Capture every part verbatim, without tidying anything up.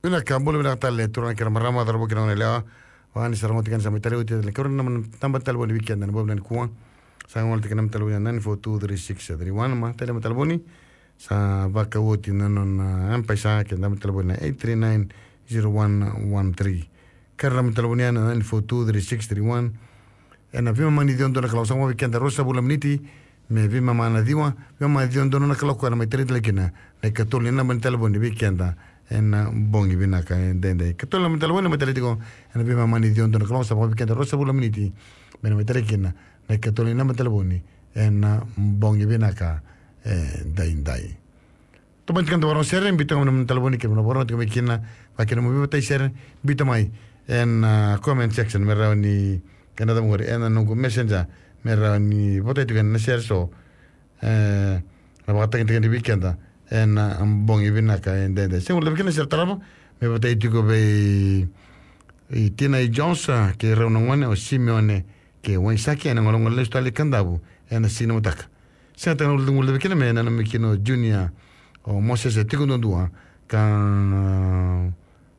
Vinaka, bula vinaka tale turaga kei na marama, cauravou kei na goneyalewa. Vaka ni sa rogoci keda, sa mai tale oti tale, kau na naba ni talevoni vei keda ena bogi vinaka nikua. Sa gole tiko na naba ni talevoni na nine four two three six three one, ma tale naba ni talevoni. Sa vaka oti na nona M-PAiSA, kei na naba ni talevoni na eight three nine zero one one three. Kei na naba ni talevoni ya na nine four two three six three one. Ena veimama ni ciwa dua na kaloko, sa mai vei keda ruasagavulu na miniti me veimama na ciwa, veimama ni ciwa dua na kaloko ena mai tale tale kina na ikatolu ni naba ni talevoni vei keda ena bogi vinaka edaidai. Ikatolu na naba ni talevoni mai tale tiko ena veimama ni ciwa dua na kaloko, sa mai vei keda ruasagavulu na miniti me na mai tale kina na ikatolu ni naba ni talevoni ena bogi vinaka edaidai. Tomani tiko na vakarorogo sere, biuta mai na talevoni kei na vakarorogo tiko mai kina, vaka kina mo veivatai sere, biuta mai ena, ah, comment section me rawa ni kena cavu qori, ena noqu messenger, me rawa ni votai tiko ena sere so, eh, na vakatagitaki vei keda ena bogi vinaka edaidai. Sega ni guilecavi kina na sere tarava, me votai tiko vei, i Tina i Jones, ah, kei rau na gone, o Simeone kei Waisake, ena golegole lesu tale i Kadavu ena siga ni mataka. Sega tale ni guilecavi kina me nanumi kina o Junior, o Moses, e tiko duadua ka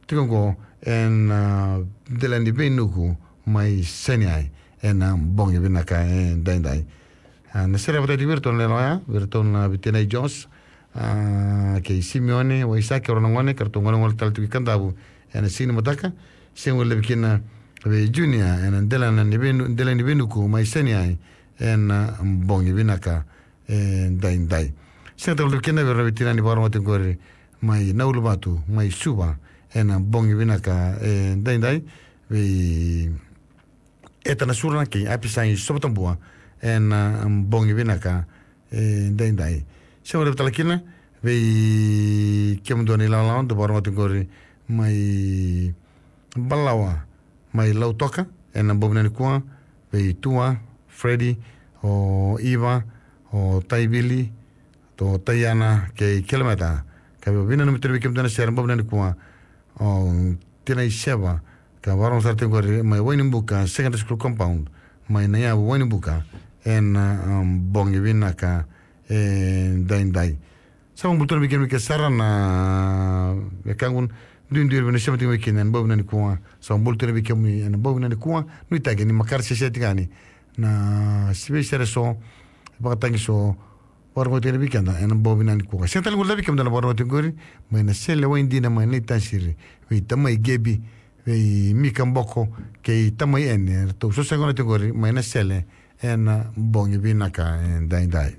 tiko qo ena, ah, dela ni veinuku mai Saineai ena bogi vinaka edaidai. Ah, na sere e votai tiko vei iratou na lewe ya, vei iratou na, vei Tina i Jones, ah, kei Simeone Waisake, rau na gone, ka ratou golegole tale tiko i Kadavu ena siga ni mataka. Sega ni guilecavi kina vei Junior ena dela ni veinu-, dela ni veinuku mai Saineai ena bogi vinaka edaidai. Sega tale ni guilecavi kina vei ira na veitinani vakarorogo tiko qori mai Nauluvatu, mai Suva, ena bogi vinaka edaidai. Vei Eta Nasura kei Apisai Sovatabua ena bogi vinaka edaidai. Sega ni guilecavi tale kina vei kemudou na ilawalawa dou vakarorogo tiko qori mai Balawa, mai Lautoka, ena bogi vinaka nikua, vei Tua, Freddy, o Iva, o Taivili, o Taiana kei Kilometa. Ka veinanumi tale vei kemudou na sere ena bogi vinaka nikua, o Tina i Seva, ka vakarorogo sara tiko qori mai Wainibuka Secondary School Compound, mai Naiyavu, Wainibuka, ena, um, bogi vinaka edaidai. Sa vakabula tu na weekend, weekend sara na wekaqu, duidui vei na sema tiko mai kina ena bogi vinaka nikua. Sa vakabula tu na weekend ena bogi vinaka nikua. Nuitaki ni makare sese tiko yani na sivi sere so, vakatagi so, vakarorogo tiko yani vei keda ena bogi vinaka nikua. Sega tale ni guilecavi kemudou na vakarorogo tiko qori mai Nasele, Waidina, mai Naitasiri, vei tamai Gebi, vei Mika Boko kei tamai Ene, ratou so sa gone tiko qori mai Nasele ena bogi vinaka edaidai.